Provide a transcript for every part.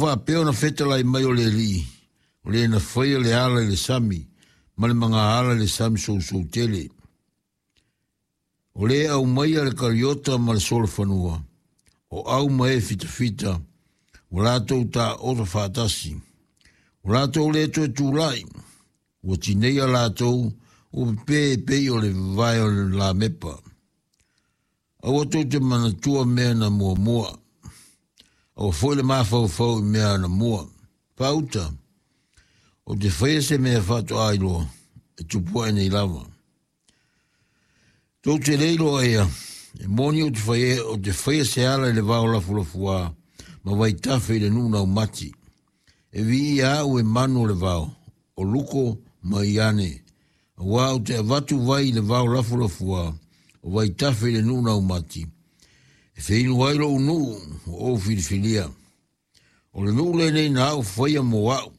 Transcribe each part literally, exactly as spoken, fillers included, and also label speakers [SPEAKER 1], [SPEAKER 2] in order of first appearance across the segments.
[SPEAKER 1] faapea ona fetalai mai o le Alii, o le na faia le ala i le sami, ma le magaala i le sami sousou tele. O le aumaia le kariota ma le solofanua, o au ma e fitafita, ua latou taoto faatasi. Ua latou le toe tulai, ua tineia latou, ua pepe e pei o le vavae o le lamepa. Aua tou te manatua mea na muamua, aua foi le mafaufau i mea na mua. Pauta, o te faia se mea faatoa iloa, e tupu ae nei lava. Tou te le iloa ia, e moni o te faia, o te faia se ala i le vao lafulafuā, ma vaitafe i le nuu naumati. E viia au e manu o le vao, o luko ma iane, auā ou te avatu vai i le vao lafulafuā, o vaitafe i le nuu naumati. E feinu ai lou nuu ua ou filifilia. O le nuu lenei na au faia mo au,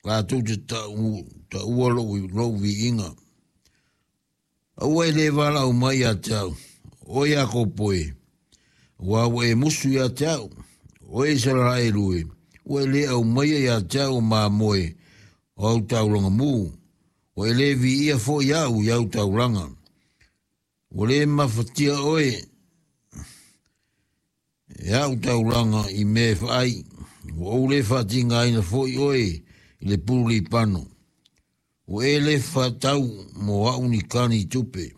[SPEAKER 1] latou te taua taua lou, lou viiga. Aua e le valaau mai ia te au, o Iakopo e, auā ua e musu ia te au, o Isaraelu e, ua e le aumaia ia te au o mamoe o au taulaga mu, ua e le viia foi au i au taulaga. Ua le mafatia oe e au taulaga i mea e faai, ua ou le faatigaina foi oe i le pulu lipano. Ua e le faatau mo au ni kani tupe,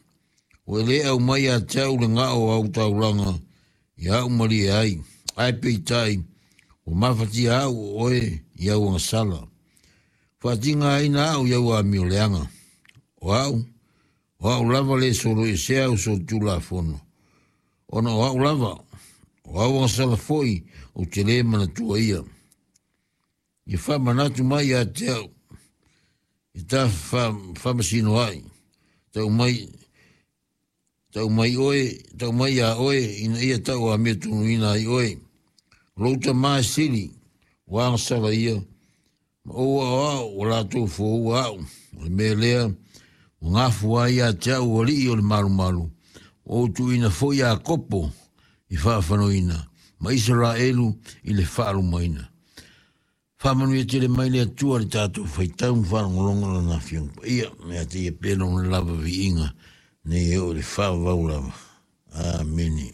[SPEAKER 1] ua e le aumai ia te au le gao o au taulaga ia au malie ai, ae peitai, ua mafatia au o oe i au agasala. Faatigaina au i au amioleaga. O au, o au lava le soloesea au solitulafono, ona o au lava, o au agasala foi ou te le manatua ia. Ia faamanatu mai ia te au, i ta faamasino ai, tau mai, tau mai oe, tau mai ia oe, ina ia tau amiotonu ai oe. O lou tamā e sili, ua agasala ia, ma ou aoao ua latou foua au. O le mea lea, ua gafua ai ia te au alii o le malumalu, ua ou tuuina foi Iakopo i faafanoina, ma Isaraelu i le faalumaina. Faamanuia tele mai le Atua i le tatou faitau ma faalogologo Lana Afioga Paia, ia te ia pea lona lava viiga, nei e oo i le faavavau lava. Amene.